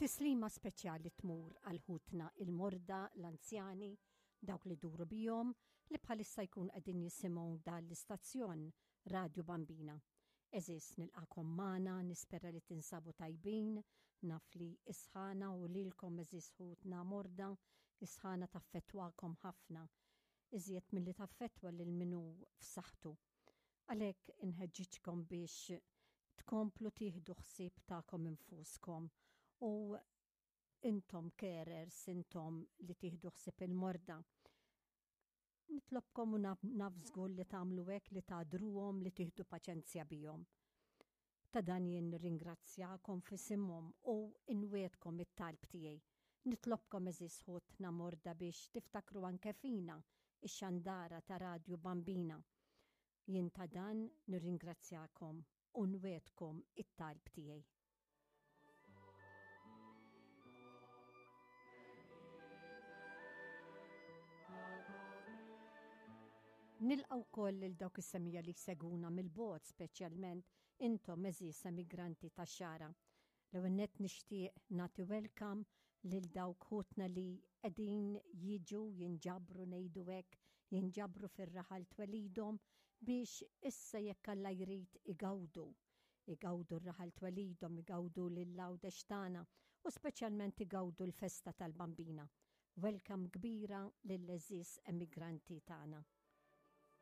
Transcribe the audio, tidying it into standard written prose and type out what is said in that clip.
Tislima speċjali tmur għal ħutna il-morda, l-anzjani, dawk li duru bihom li bħalissa jkun qegħdin jisimgħu dan l-istazzjon Radju Bambina. Għeżież nilqakom magħna, nispera li tinsabu tajbin, naf li s-sħana u lilkom għeżież ħutna morda, is-sħana taffettwakom ħafna, iżjed milli taffettwa lil min hu f'saħħtu. Għalhekk inħeġġiġkom biex tkomplu tieħdu ħsieb tagħkom infuskom u intom carers, intom li tieħdu ħsieb il-morda. Nitlobkom u naf żgur li tagħmlu hekk li tagħdruhom li tieħdu paċenzja bihom. Ta' dan jien nirringrazzjakom f'isimhom u nwiegħdkom it-talb tiegħi. Nitlobkom għeżież ħutna morda biex tiftakru anke fina, ix-xandara ta' Radju Bambina. Jien ta' dan nirringrazzjakom u nwiegħdkom it-talb tiegħi. Nilqa' wkoll lil dawk is-semija li jsegwuna mill-bogħod speċjalment intom għeżież emigranti tax-Xagħra. L-ewwel nett nixtieq nagħti welcome lil dawk ħutna li qegħdin jiġu jinġabru ngħidu hekk, jinġabru fir-raħal twelidhom biex issa jekk Alla jrid igawdu Igawdu r-raħal twelidhom, igawdu lil Għawdex tagħna u speċjalment igawdu l-festa tal-Bambina. Welcome kbira lill-għeżież emigranti tagħna.